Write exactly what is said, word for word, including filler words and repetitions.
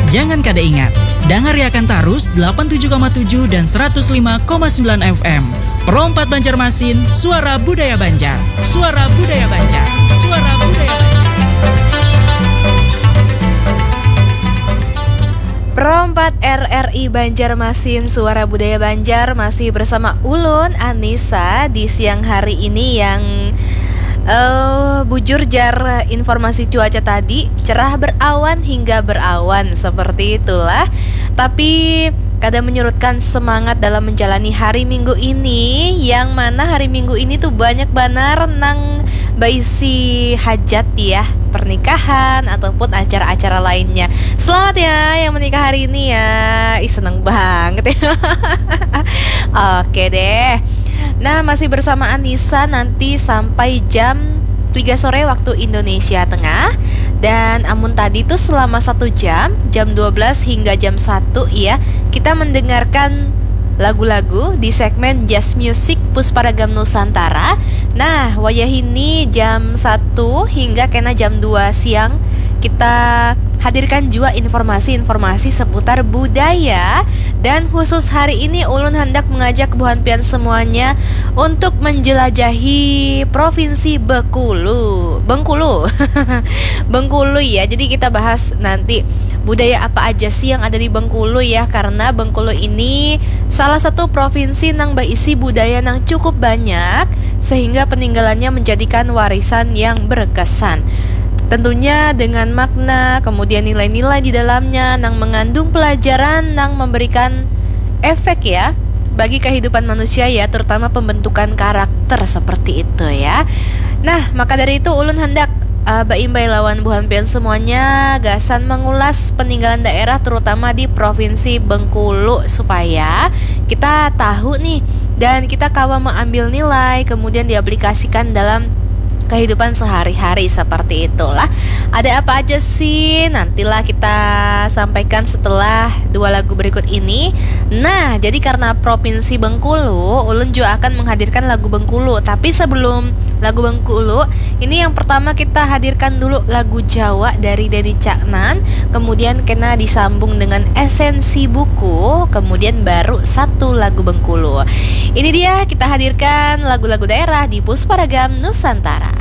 Jangan kada ingat, dangariakan tarus delapan tujuh koma tujuh dan seratus lima koma sembilan F M. Pro empat Banjarmasin, suara budaya Banjar. Suara budaya Banjar. Suara budaya Banjar. Pro empat R R I Banjarmasin, suara budaya Banjar, masih bersama ulun, Anissa, di siang hari ini yang, eh, bujur jar, informasi cuaca tadi cerah berawan hingga berawan, seperti itulah. Tapi kada menyurutkan semangat dalam menjalani hari Minggu ini, yang mana hari Minggu ini tuh banyak banar nang baisi hajat ya, pernikahan ataupun acara-acara lainnya. Selamat ya yang menikah hari ini ya. Ih, seneng banget ya. Oke deh. Nah, masih bersama Anissa nanti sampai jam tiga sore waktu Indonesia Tengah. Dan amun tadi tuh selama satu jam, jam dua belas hingga jam satu ya, kita mendengarkan lagu-lagu di segmen Jazz Music Pusparagam Nusantara. Nah, wayahini jam satu hingga kena jam dua siang, kita hadirkan juga informasi-informasi seputar budaya. Dan khusus hari ini, ulun hendak mengajak buhan pian semuanya untuk menjelajahi Provinsi Bekulu. Bengkulu. Bengkulu ya. Jadi kita bahas nanti budaya apa aja sih yang ada di Bengkulu ya, karena Bengkulu ini salah satu provinsi nang berisi budaya nang cukup banyak, sehingga peninggalannya menjadikan warisan yang berkesan. Tentunya dengan makna, kemudian nilai-nilai di dalamnya nang mengandung pelajaran nang memberikan efek ya bagi kehidupan manusia ya, terutama pembentukan karakter seperti itu ya. Nah, maka dari itu ulun hendak uh, baimbai lawan buhan pian semuanya gasan mengulas peninggalan daerah, terutama di Provinsi Bengkulu, supaya kita tahu nih dan kita kawa mengambil nilai, kemudian diaplikasikan dalam kehidupan sehari-hari seperti itulah. Ada apa aja sih? Nantilah kita sampaikan setelah dua lagu berikut ini. Nah, jadi karena Provinsi Bengkulu, ulun juga akan menghadirkan lagu Bengkulu. Tapi sebelum lagu Bengkulu, ini yang pertama kita hadirkan dulu lagu Jawa dari Denny Caknan, kemudian kena disambung dengan esensi buku, kemudian baru satu lagu Bengkulu. Ini dia, kita hadirkan lagu-lagu daerah di Pusparagam Nusantara.